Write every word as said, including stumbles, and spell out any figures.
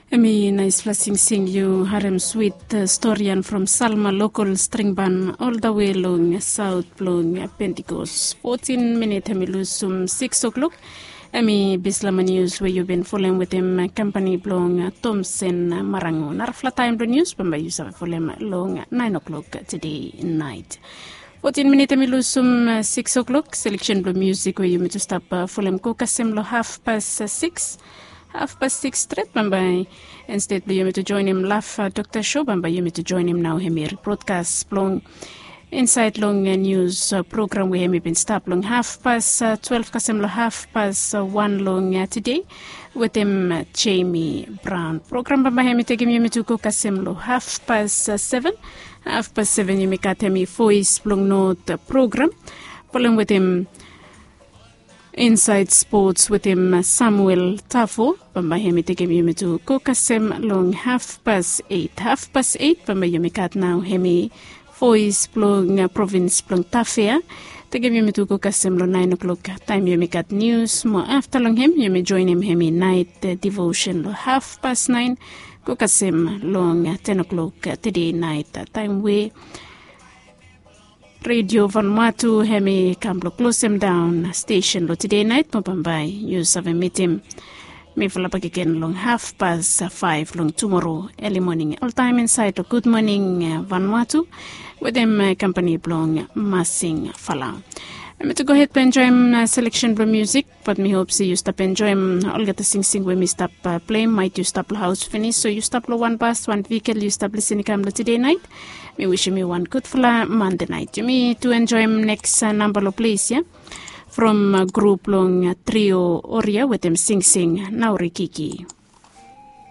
Em i naispela singsing yu harem swit storian from Salma lokol stringban oldawe long saut blong Pentikos. Fotin minit em i lusum siks o'klok. Em i bislama nius we yu bin folem wetem kampani blong Tomsen Marango. Narafala taem blong nius bambae yu save folem long naen o'klok tede naet. Fotin minit em i lusum siks o'klok. Seleksen blong musik we yumi tu stap folem go kasem long hafpas siks. Hafpas siks stret bambae, ensted blong yumi tu joenem laf dokta sho bambae yumi tu joenem nao em i ribrodkas blong insaed long nius program we em i bin stap long hafpas twelef kasem long hafpas wan long tede wetem Jemi Braon. Program bambae em i tekem yumi tu go kasem long hafpas seven. Hafpas seven yumi gat em i Voes blong Not program folem wetem Insaed Spots wetem Samuel Tafo. Bambae em i tekem yumi tu go kasem long hafpas eit. Hafpas eit bambae yumi gat nao em i Voes blong provins blong Tafea. Tekem yumi tu go kasem long naen o'klok taem yumi gat nius mo afta long em yumi joenem em i naet devosen long hafpas naen go kasem long ten o'klok tede naet, taem we Redio Vanuatu em i kam blong klosem daon stesen long tede naet mo bambae yu save mitim mifala bakegen long hafpas faef long tumoro eli moning oltaem insaed long Gud Moning Vanuatu wetem kampani blong Masing Falau. Em i tu gohed blong enjoem seleksen blong musik. Bat mi hop se yu stap enjoem olgeta singsing we mi stap pleim. Maet yu stap long haos finis, so yu stap long wan bas, wan vikel yu stap lisin i kam long tede naet. Mi wisim yu wan gudfala Mande naet. Yumi tu enjoem neks namba long ples ya from grup blong Trio Oria wetem singsing Naurikiki.